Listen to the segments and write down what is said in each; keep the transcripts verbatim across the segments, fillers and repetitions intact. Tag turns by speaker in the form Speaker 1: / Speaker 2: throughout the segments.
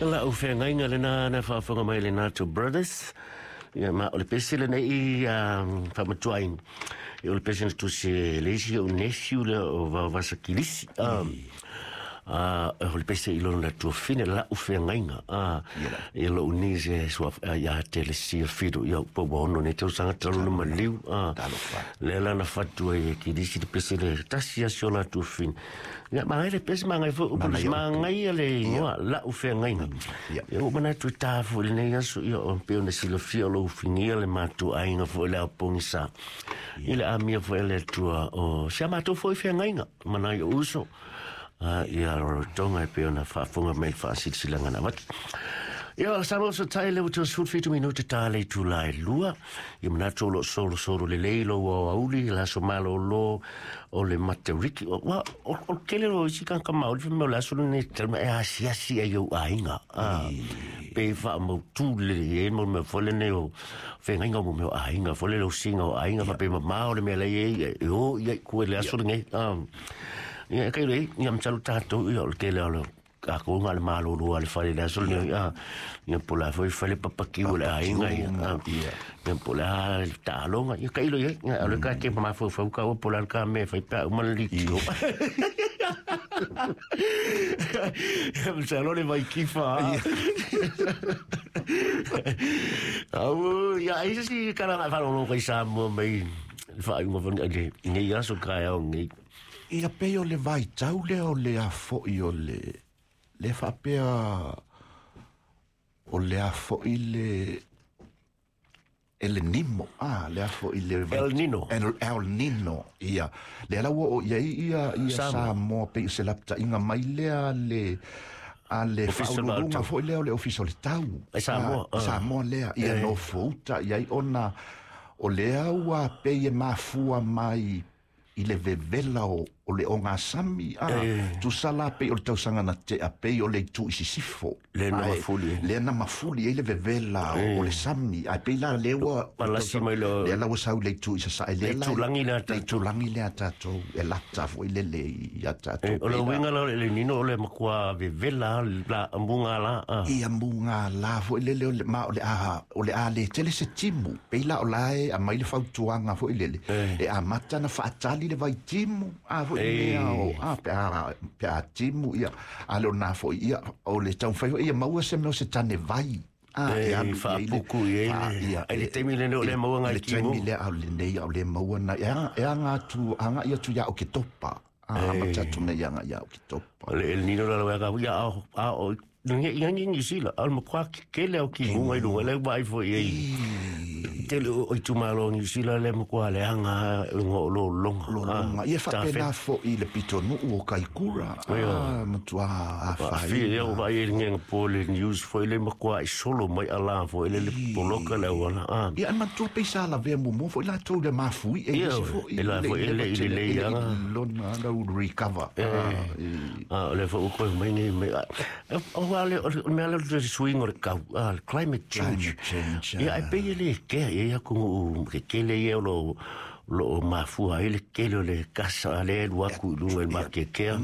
Speaker 1: La'u feagaiga lenā na faafofoga mai le Nato Brothers. Ia ma o le pese lenei faamatuaina, ia o le pese na tusi e le isi o'u nephew lea o Vaovasa Kilisi. O le pese i lona tuafine, la'u feagaiga, ia lo'u niece ia te le sia Fido, ia po ua ono nei tausaga talu na maliu lea la na fatu ai e Kilisi le pese le tasi asi o latou fine. Ia magai le pese, magai foi upu, magaia le igoa la'u feagaiga. Ia ua manatu i tā foi lenei aso, ia o pei ona silafia o lou figia le matou aiga foi le aopogisa i le amia foi le Atua o si a matou foi feagaiga manai o uso ia Rarotonga e pei ona faafofoga mai le faasilasilaga na avatu. Ia sa mo so tai le ua sefulu fitu minute ta le itula e lua. Ia manatu o loo solosolo lelei lou aoauli le aso malōlō o le Matariki. Ua o le tele o isi tagata maoli fai mai o le aso lenei talu e asiasi ai ou aiga pe faamautū lelei ai mo le mea foi lenei o feagaiga o mo mea o aiga foi le lausiga o aiga faapea mamao le mea lai ai e o ia i kua i le aso lenei. Ia kai le ia masalo tatou ia o le tele o le tatou na le malolo a le fale le aso lenei ia po o le a foi fale papakiu o le aiga ia ia po o le a taaloga ia tailo i ai o le ka te mafaufau ka ua po o le a le ka mea e fai pe a uma le litio. Masalo le vaikifa. Au ia ai se si kalaga e faalogologo kai Samoa mai le faaiuga foi lenei aso taeao lenei.
Speaker 2: Ia pei o le vaitau lea o le afo'i o le le faapea o le afo'i le El Nimo, ah, le afo'i le
Speaker 1: El Nino.
Speaker 2: El, El Nino, ia. Le ala ua o i ai ia, ia Samoa pei o se lapataiga mai lea le a le faauluuluga foi lea o le Ofisa o le Tau.
Speaker 1: E Samoa.
Speaker 2: Ah, Samoa lea, ia nofouta i ai ona o lea ua pei e mafua mai i le vevela o, o le ogasami a tusa la pei o le tausaga na tea pei o le itu i sisifo
Speaker 1: le na mafuli
Speaker 2: le na mafuli ai le vevela o le sami ai pei la le ua
Speaker 1: palasi mai lo
Speaker 2: le la ua sau le itu i sasae le
Speaker 1: la itulagi le
Speaker 2: le itulagi le a tatou e lata foi le le ia tatou
Speaker 1: o le uiga la o le Nino o le makua vevela la muga la
Speaker 2: ia muga la foi le le ma o le a o le a le tele se timu pei la o la e aumai le fautuaga foi lele e amata na faatali le vaitimu a foi mea o a pe a pe a timu ia a le ona foi ia o le taumafai foi ia maua se mea o se tane vai a e alu
Speaker 1: faapuku i ai ai le taimi lenei o le maua ngai timu
Speaker 2: le taimi lea o lenei o le maua na e aga atu aga ia atu ia o ke topa a matatu nei aga ia o ke topa
Speaker 1: o le El Nino la la ia a o ngi ngi ngi sila al mo kwa kele o ki munga i lunga le vai foi ai tele o itumalo Niu Sila le mo kwa le anga ngo lo longa
Speaker 2: lo longa ia faapena foi le pitonuu o Kaikura a matua afai
Speaker 1: fi ia o vai ngi po le news foi le mo kwa i solo mai ala foi le le poloka le wala a
Speaker 2: ia matua pe sa la ve mo foi la tou le mafui e foi
Speaker 1: le la foi le le le ia
Speaker 2: lona la recover
Speaker 1: a le foi ko mai ngi mai o le o mea le le suiga o le kau climate change ia e pei e le kea ia ku ke kele ia lo lo mafua ai le kele o le kasa le alu aku i luga i le makekea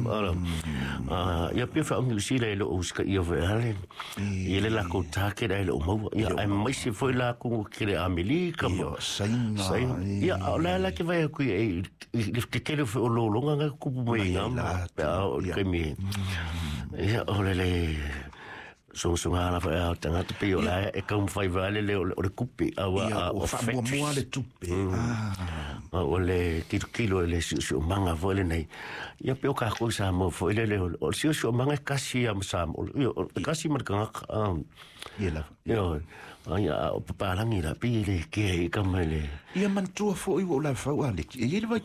Speaker 1: ia pei faagiusila e loo usikaia foi ale ia le lakou target ae loo maua ia ae maise foi lakou kele Amelika ma
Speaker 2: Saina
Speaker 1: ia o le ala ke vai aku i le kekele foi o lologa ga kupu mai ga pe a o le kaimi ia o le le sogasoga la foi a tagata pei o la e taumafai vale le o le kupe a
Speaker 2: o faamuamua le tupe
Speaker 1: o le tilotilo i le siosiomaga foi lenei ia pe o kakou Samoa foi lele o le siosiomaga e kasi ia ma Samoa e kasi ma le tagata
Speaker 2: ia lava
Speaker 1: ia ia o papalagi la pei e le kea i kama i le
Speaker 2: ia manatua foi ua ou lafau a le e i ai le